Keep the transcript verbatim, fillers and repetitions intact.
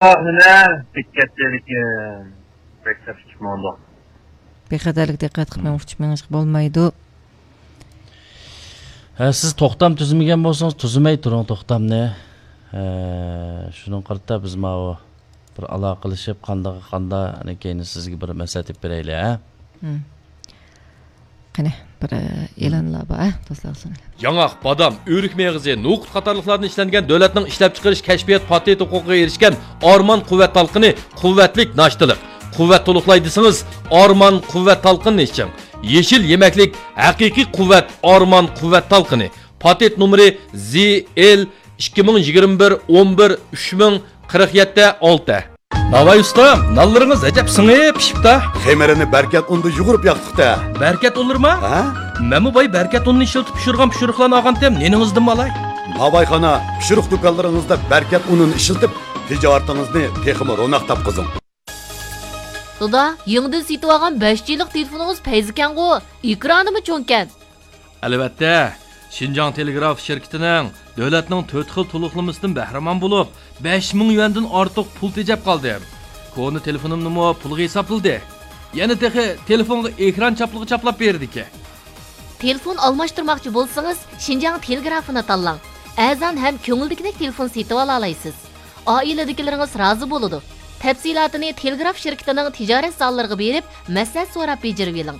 ئاخىرى بىككەتتىلىكى بەك تەس ئۇچۇپ ماڭدۇق. بىخەتەرلىك دىققەت قىلماي ئۇچۇپ مېڭىشقا بولمايدۇ. ھە، سىز توختام تۈزمىگەن بولسىڭىز، تۈزمەي تۇرۇڭ توختامنى. ھە، شۇنىڭغا قارىتا بىز ماۋۇ بىر ئالاقىلىشىپ، قانداق، قانداق، ئەنە كەينى سىزگە بىر مەسلىھەت ئېلىپ بېرەيلى، ھە؟ مم. قېنى، بىر، ئە، ئېلانلار بار، ھە، دوستلار، سۇنۇڭ. ياڭاق، بادام، ئۆرۈك مېغىزى، نوقۇت قاتارلىقلاردىن ئىشلەنگەن دۆلەتنىڭ ئىشلەپچىقىرىش كەشپىيات پاتېنت ھوقۇقىغا ئېرىشكەن ئارمان قۇۋۋەت تالقىنى، قۇۋۋەتلىك ناشتىلىق. قۇۋۋەت تولۇقلاي دېسىڭىز، ئارمان قۇۋۋەت تالقىنىنى ئىچىڭ. يېشىل يېمەكلىك، ھەقىقىي قۇۋۋەت، ئارمان قۇۋۋەت تالقىنى. پاتېنت نومۇرى زى ئېل ئىككى مىڭ يىگىرمە بىر ئون بىر ئۈچ مىڭ قىرىق يەتتە ئالتە. ناۋاي ئۇستا، نانلىرىڭىز ئەجەب سىڭىپ پىشىپتا. خېمىرىنى بەركەت ئۇندا يۇغۇرۇپ ياقتۇق-تە. بەركەت ئۇنلىرىما؟ ھە؟ مەنمۇ باي بەركەت ئۇنىنى ئىشلىتىپ پىشۇرغان پىشۇرۇقلارنى ئالغانتىم، نېنىڭىزدىنمۇ ئالاي؟ ناۋايخانا، پىشۇرۇق دۇكانلىرىڭىزدا بەركەت ئۇنىنى ئىشلىتىپ، تىجارىتىڭىزنى تېخىمۇ روناق تاپقۇزۇڭ. دادا، يېڭىدىن سېتىۋالغان بەش جىلىق تېلېفونىڭىز پەيزىكەنغۇ؟ ئېكرانىمۇ چوڭكەن. ئەلۋەتتە، شىنجاڭ تېلېگراف شىركىتىنىڭ دۆلەتنىڭ تۆت خىل تولۇقلىمىسىدىن بەھرىمەن بولۇپ، بەش مىڭ يۈەندىن ئارتۇق پۇل تېجەپ قالدىم. كونا تېلېفونۇمنىمۇ پۇلغا ھېسابلىدى. يەنە تېخى تېلېفونغا ئېكران چاپلىقى چاپلاپ بېرىدىكەن. تېلېفون ئالماشتۇرماقچى بولسىڭىز، شىنجاڭ تېلېگرافىنى تاللاڭ. ئەرزان ھەم كۆڭۈلدىكىدەك تېلېفون سېتىۋالالايسىز. ئائىلىدىكىلىرىڭىز رازى بولىدۇ. تەپسىلاتىنى تېلېگراف شىركىتىنىڭ تىجارەت زاللىرىغا بېرىپ، مەسلىھەت سوراپ بېجىرىۋېلىڭ.